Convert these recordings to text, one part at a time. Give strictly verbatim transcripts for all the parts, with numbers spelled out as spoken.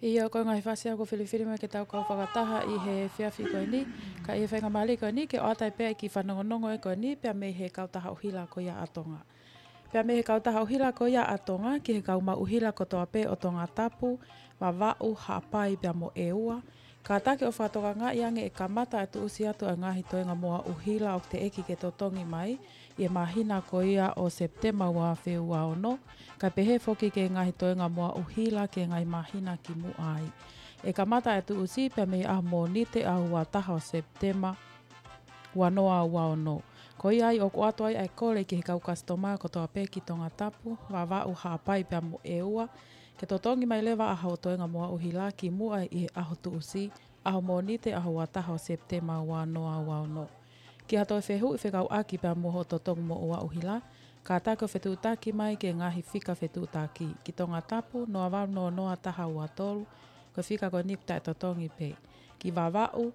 ʻIo, ko e ngaahi fasi ʻoku filifili mai ke tau kau fakataha ʻi he efiafi ko eni, ka ʻi he faingamālie ko eni ke ʻoatu ai pē ʻa e kiʻi fanongonongo ko eni pea mei he kautaha ʻuhila ko ia ʻa Tonga. Pea mei he kautaha ʻuhila ko ia ʻa Tonga ki he kau maʻu ʻuhila kotoa pē ʻo Tongatapu, Vavaʻu, Haʻapai pea mo ʻEua. Kātaki ʻo fakatokangaʻi ange ʻe kamata ʻa e tuʻusi atu ʻa e ngaahi toenga moa ʻuhila ʻoku teʻeki ke totongi mai ʻi he māhina ko ia ʻo Sepitema ua afe ua ono, kae pehē foki ki he ngaahi toenga moa ʻuhila ki he ngaahi māhina kimuʻa ai. ʻE kamata ʻa e tuʻusi pea mei he ʻaho Mōnite ʻaho ua taha ʻo Sepitema ua noa ua ono. Ko ia ai ʻoku ʻoatu ai ʻa e kole ki he kau kasitoma kotoa pē ki Tongatapu, Vavaʻu, Haʻapai pea mo ʻEua, ke totongi mai leva ʻa hoʻo toenga moa ʻuhila kimuʻa ʻi he ʻaho tuʻusi, ʻaho Mōnite ʻaho ua taha ʻo Sepitema ua noa ua ono. Ki ha toe fehuʻi fekauʻaki pea mo hoʻo totongi moa ʻuhila, kātaki ʻo fetuʻutaki mai ki he ngaahi fika fetuʻutaki. Ki Tongatapu, noa valu noa noa taha ua tolu, ko e fika ko eni ʻoku taʻetotongi pē. Ki Vavaʻu,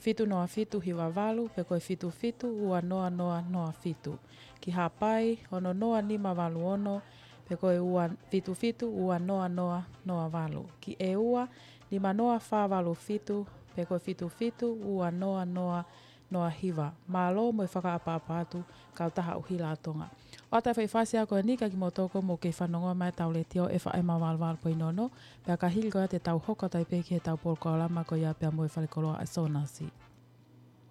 fitu noa fitu hiva valu, pe ko e fitu fitu ua noa noa noa fitu. Ki Haʻapai, ono noa nima valu ono, pe ko e ua, fitu fitu ua noa noa noa valu. Ki ʻEua, nima noa fā valu fitu, pe ko e fitu fitu ua noa noa noa hiva. Mālō mo e fakaʻapaʻapa atu, kautaha ʻuhila ʻa Tonga. ʻOatu ʻa e foʻi fasi ko eni kia kimoutolu ʻoku mou kei fanongo mai ʻetau letiō F M valu valu poini ono, pea ka hili ko ia te tau hoko atu ai pē ki heʻetau polokalama ko ia pea mo e falekoloa ʻa Sonasi.